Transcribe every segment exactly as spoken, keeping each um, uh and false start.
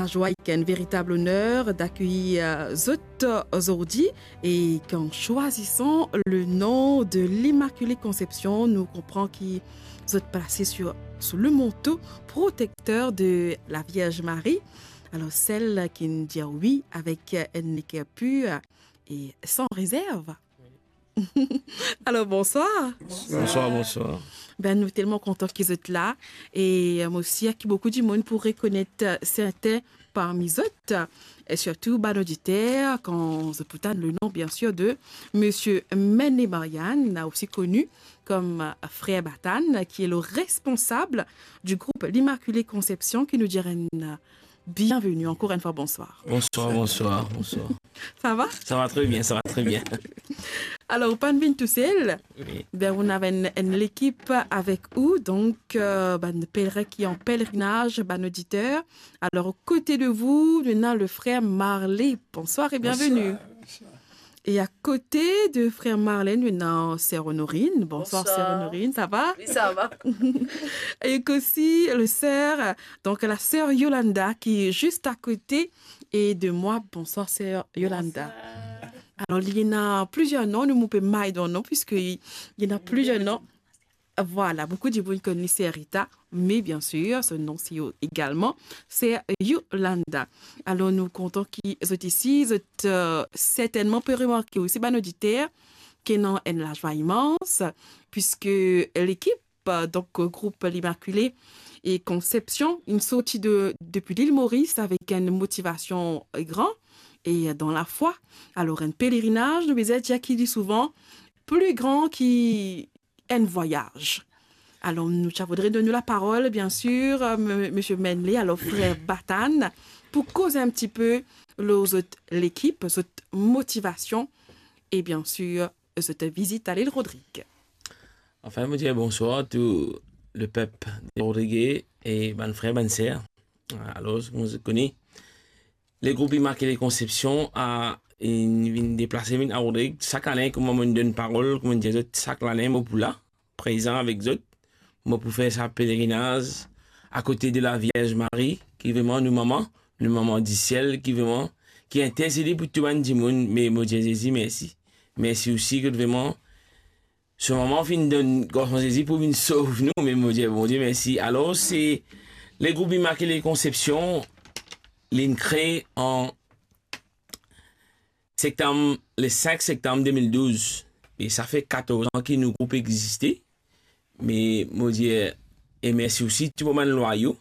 lajwa ek enn veritab oner dakeyir, euh, zot, euh, zordi, e an swazisant le nom de l'Immaculée Conception, nou konpran ki zot plase sou, sou le manto protekter de la Vierge Marie. Alor, sel ki'nn dir wi avek enn leker pir e san rezerv. Alor, bonswar. Bonswar, bonswar. Be, nou telman kontan ki zot la. E, euh, mo sir ki boukou dimoun pou rekonet, euh, serten parmi zot, e sirtou bann oditer, kan zot pou tann le nom, bien sir, de Misie Menle Marianne, osi koni kom, euh, Frer Batane, ki e le responsab du group L'Immaculée Conception, ki nou dir enn, euh, bienveni ankor enn fwa, bonswar. Bonswar, bonswar, bonswar. Sa va? Sa va tre bien, sa va tre bien. Alor, ou pa'nn vinn tousel. Wi. Be, ou ena enn, enn lekip avek ou, donk, euh, bann pelerin ki an pelerinaz, bann oditer. Alor, aux côtés de vous, nou ena le frer Marley. Bonswar e bienveni. Bonswar, bonswar. E akote de frer Marley, nou ena ser Honorine. Bonswar, bonswar, ser Honorine, sa va? Wi, sa va. E osi le ser, donk la ser Yolanda ki zis akote e de mwa. Bonswar, ser Yolanda. Bonswar. Alor, li ena plizier nom, nou, mo pe may dan nom, piski li ena plizier nom. Vwala, boukou dimoun kone li ser Rita, me bien sir, so nom se egalman ser Yolanda. Alor, nou kontan ki zot isi, zot, euh, sertennman pe remarke osi bann oditer ki ena enn lazwa imans, piski lekip, euh, donk, group L'Immaculée Conception, inn sorti de, depi Lil Moris avek enn motivasion gran e dan lafwa. Alor, enn pelerinaz, nou bizin dir ki li souvan pli gran ki enn vwayaz. Alor, nou ti a voudre donn ou laparol, bien sir, euh, m-, Misie Menle, alor frer Batane, pou koz enn tipe lor zot lekip, zot motivasion e, bien sir, zot vizit a Lil Rodrig. Anfin, mo dir bonswar tou lepep de Rodrig e bann frer, bann ser. Alor, kouma zot kone, legroup Immaculée Conception a, inn vinn deplase vinn a Rodrig. Sak lane, kouma mo donn parol, kouma mo dir zot, sak lane mo pou la, prezan avek zot. Mo pou fer sa pelerinaz akote de la Vierge Marie, ki vreman nou mama, nou mama disiel, ki vreman, ki intersede pou tou bann dimoun. Me mo dir Zezi mersi. Mersi osi ki vreman so mama finn donn Garson Zezi pou vinn sov nou, me mo dir Bondie mersi. Alor, se legroup Immaculée Conception, linn kree an sektam, le senk sektam de mil douz. E sa fer katorz an ki nou group existe. Me mo dir, e mersi osi tou bann lwayo,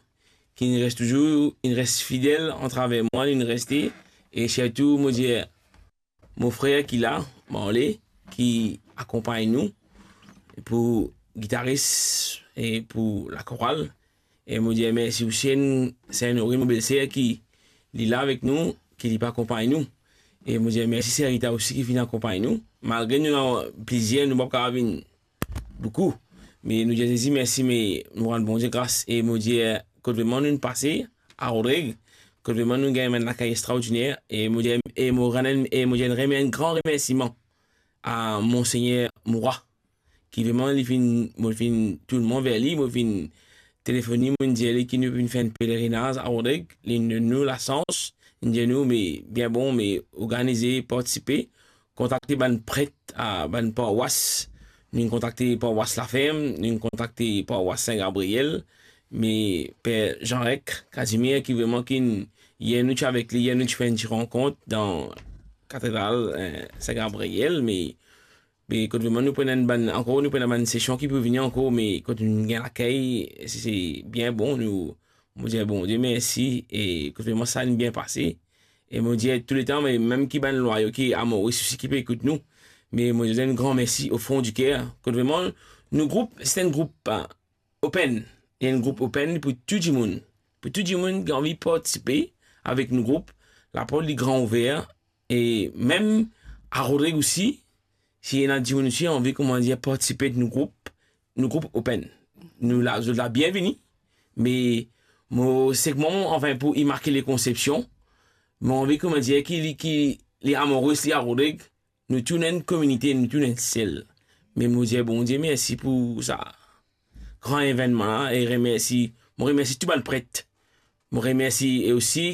ki inn res touzour, inn res fidel atraver mwa, inn reste, e sirtou, mo dir, mo frer ki la, Marley, ki akonpagn nou pou gitaris e pou lakoral. E mo dir mersi osi enn, se enn Honorine, mo belser ki li la avek nou, ki li pe akonpagn nou. E mo dir mersi ser Rita osi ki finn akonpagn nou. Malgre nou ena plizier, nou pa kapav vinn boukou. Me nou dir Zezi mersi, me nou rann Bondie gras e mo dir, kot vreman nou pase, a Rodrig, kot vreman nou gagn enn lakey extraordiner, e mo dir, e mo rann enn, e mo dir enn remer-, enn gran remersiman a Monsegner Moura, ki vreman li finn, mo finn tourn mwa ver li, mo finn telefone li, mo dir li ki nou finn fer enn pelerinaz a Rodrig, li donn nou lasans, li dir nou, me bien bon, me organize, partisipe, kontakte bann pret a bann parwas. Nou kontakte parwas Laferm, nou kontakte parwas Sin Gabriel, me Per Jean Rec Casimir ki vreman ki yer nou ti avek li, yer nou ti fer enn ti rankont dan katedral, eh, Sin Gabriel, me, me kot vreman nou pena enn bann, ankor nou pena bann sesion ki pou vini ankor, me kot nou gagn lakey, se, se bien bon, nou, mo dir Bondie mersi, e kot vreman sa inn bien pase. E mo dir touletan, me mem ki bann lwayo ki a Moris osi ki pe ekout nou, me mo dir enn gran mersi o fon di ker. Kot vreman, nou group, se enn group, eh, open. Li enn group open pou tou dimoun. Pou tou dimoun ki anvi partisipe avek nou group, laport li gran ouver, e mem a Rodrig osi, si ena dimoun osi anvi, kouma dir, partisipe nou group, nou group open. Nou la, zot la bienvini, me mo, sek mwa, mo, anfin, pou Immaculée Conception, mo anvi, kouma dir, ki li, ki li a Moris, li a Rodrig, nou tou enn kominite, nou tou enn sel. Me mo dir Bondie mersi pou sa gran evennman la, e remersi, mo remersi tou bann pret. Mo remersi e osi